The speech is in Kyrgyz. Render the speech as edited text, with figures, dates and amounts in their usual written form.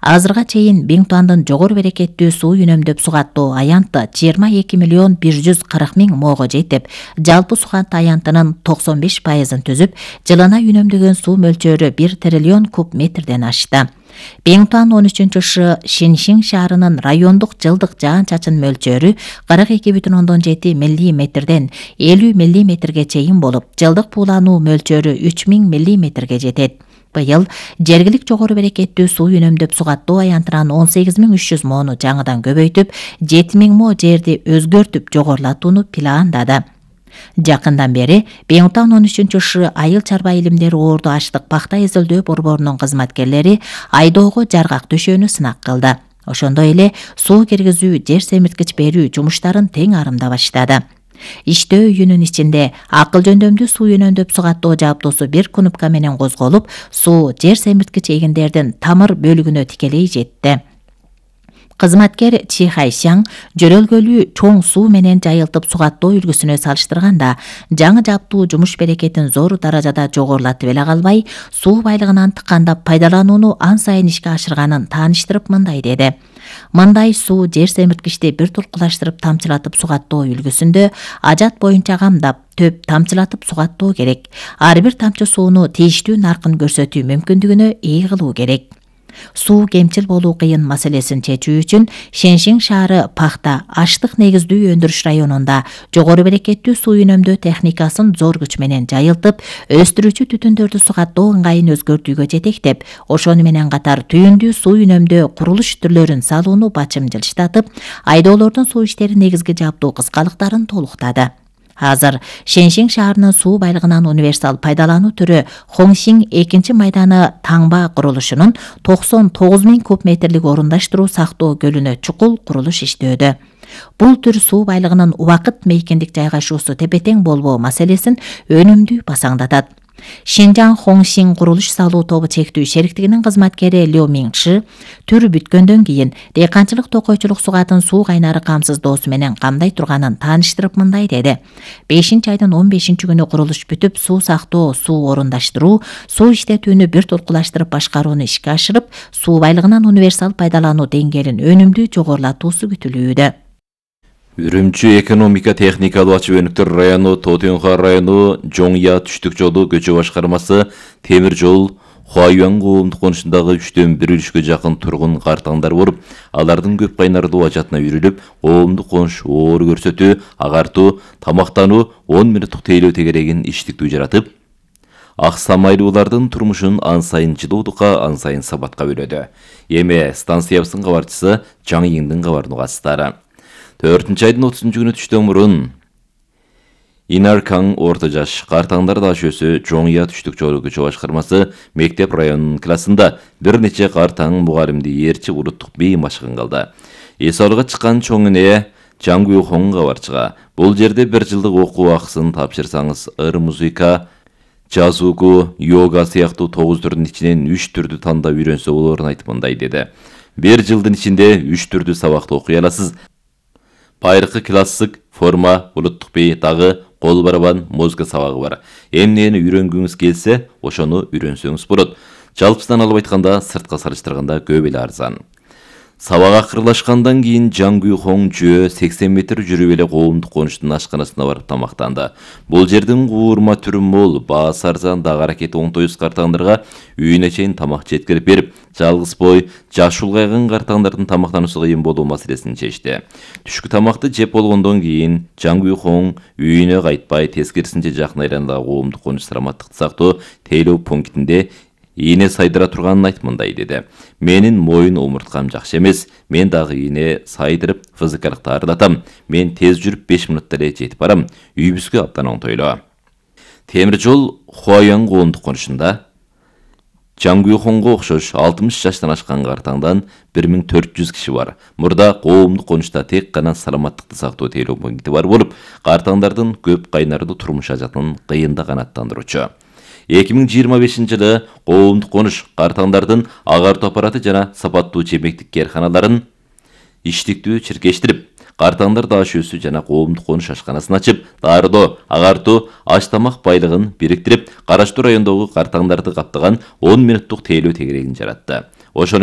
Азырга чейин Бингтуандын жогору берекеттүү суу үнөмдөп сугаттоо аянты 22.140.000 моого жетип, жалпы сугат аянтынын 95%-ын түзүп, жылына үнөмдөгөн суу мөлчөрү 1 триллион куб метрден ашты. Бингтуан 13-шы Шиншин шаарынын райондук жылдык жаан-чачын мөлчөрү 42,7 миллиметрден 50 миллиметрге чейин болуп, жылдык буулануу мөлчөрү 3000 миллиметрге жетет. Быйыл жергилик жогору берекеттүү суу үнөмдөп сугаттоо аянтынан 18.300 моону жаңыдан көбөйтүп, 7.000 мо жерди өзгөртүп жогорулатууну пландады. Жакындан бери Бингтуан 13-шы айыл чарба илимдери оорду аштык пахта эзелдөө борборунун кызматкерлери айдоого жаргак төшөөнү сынак кылды. Ошондой эле суу киргизүү, жер семирткич берүү жумуштарын тең арымда баштады. Иштөө үйүнүн ичинде акыл жөндөмдүү суу үнөмдөп сугаттоо жабдуусу 1 кнопка менен козголуп, суу жер семирткич эгиндердин тамыр бөлүгүнө тикелей жетти. Кызматкер Чи Хайшаң жөрөлгөлүү чоң суу менен жайылтып сугаттоо үлгүсүнө салыштырганда, жаңы жабдуу жумуш берекетин зор даражада жогорулатып эле калбай, суу байлыгынан тыкандап пайдаланууну ан сайын ишке ашырганын тааныштырып мындай деди. Мындай суу жер семирткичти бир толкулаштырып тамчылатып сугаттоо үлгүсүндө ажат боюнча камдап, төп тамчылатып сугаттоо керек. Ар бир тамчы сууну тийиштүү наркын көрсөтүү мүмкүндүгүнө ээ кылуу керек. Суу кемчил болуу кыйын маселесин чечүү үчүн Шеншин шаары пахта, аштык негиздүү өндүрүш районунда жогору берекеттүү суу үнөмдөө техникасын зор күч менен жайылтып, өстүрүүчү түтүндөрдү сугаттоо ыңгайын өзгөртүүгө жетектеп, ошону менен катар түйүндүү суу үнөмдөө курулуш түрлөрүн салууну бачым жылыштатып, айдоолордун суу иштери негизги жабдуу кыскалыктарын толуктады. Азыр Шеншин шаарынын суу байлыгынан универсал пайдалануу түрү Хоңшин 2 майданы таңба курулушунун 99.000 куб метрлик орундаштыруу сактоо көлүнө чукул курулуш иштөөдө. Бул түр суу байлыгынын убакыт мейкиндик жайгашуусу тепе-тең болбоо маселесин өнүмдүү басаңдатат. Шинжаң Хоңшин курулуш салуу тобу чектүү шериктигинин кызматкери Лё Минши түр бүткөндөн кийин дыйканчылык токойчулук сугатын суу кайнары камсыздоосу менен камдай турганын тааныштырып мындай деди. 5-айдын 15-күнү курулуш бүтүп, суу сактоо, суу орундаштыруу, суу иштетүүнү бир толкулаштырып башкарууну ишке ашырып, суу байлыгынан универсал пайдалануу деңгээлин өнүмдүү жогорулатуусу күтүлүүдө. Үрүмчү экономика техникалуу ачык өнүктөр району, Тотюнха району, Жоңя түштүк жолу көчө башкармасы темир жол Хуаюан коомдук конушундагы 3/1 үлүшкө жакын тургун картаңдар болуп, алардын көп кайнардуу ажатына үйрүлүп, коомдук конуш оору көрсөтүү, агартуу, тамактануу, 10 мүнөттүк тейлөө тегерегин иштиктүү жаратып, ак самайлуулардын турмушун ан сайын жылуулукка, ан сайын сабатка бөлөдү. Эми станциябыздын кабарчысы Жаңы Йиңдин кабарын угасыздар. 4-айдын 30-күнү түштөн мурун Инаркаң орто жаш картаңдар дашөөсү Жоңя түштүк жолу көчө башкармасы мектеп районунун классында бир нече картаң мугалимди ээрчип улуттук бий машыгын кылды. Эс алууга чыккан чоң эне Жаңгүй Хоң кабарчыга бул жерде 1 жылдык окуу акысын тапшырсаңыз, ыр музыка, жазууку, йога сыяктуу 9 түрдүн ичинен 3 түрдү тандап үйрөнсө болорун айтып мындай деди. 1 жылдын ичинде 3 түрдү сабакты окуй аласыз. Байыркы классик, форма, улуттук бий, дагы кол барабан, музыка сабагы бар. Эмнени үйрөнгүңүз келсе, ошону үйрөнсөңүз болот. Жалпысынан алып айтканда, сыртка салыштырганда көп эле арзан. Сабак акырлашкандан кийин Жаңгүй Хоң жөө 80 метр жүрүп эле коомдук конуштун ашканасына барып тамактанды. Бул жердин куурма түрү мол, баасы арзан, дагы аракети оңтойсуз картаңдарга үйүнө чейин тамак жеткирип берип, жалгыз бой, жаш улгайган картаңдардын тамактануусу кыйын болуу маселесин чечти. Түшкү тамакты жеп болгондон кийин Жаңгүй Хоң үйүнө кайтпай, тескерисинче жакын айланадагы коомдук конуш саламаттыкты сактоо тейлөө пунктинде ийне сайдыра турганын айтып мындай деди. Менин моюн омурткам жакшы эмес, мен дагы ийне сайдырып физикалык таарылатам. Мен тез жүрүп 5 мүнөттө эле жетип барам. Үйүбүзгө абдан оңтойлуу. Темир жол Хуаян коомдук конушунда Жаңгүй Хоңго окшош 60 жаштан ашкан картаңдан 1400 киши бар. Мурда коомдук конушта тек гана саламаттыкты сактоо тейлөө пункти бар болуп, картаңдардын көп кайнардуу турмуш ажатын кыйында канааттандыруучу. 2025-жылы коомдук конуш картаңдардын агартуу аппараты жана сапаттуу чемектик керканаларын иштиктүү чиркештирип, картаңдар дашөөсү жана коомдук конуш ашканасын ачып, дарылоо, агартуу, аш тамак байлыгын бириктирип, караштуу райондогу картаңдарды каптаган 10 мүнөттүк тейлөө тегерегин жаратты. Ошону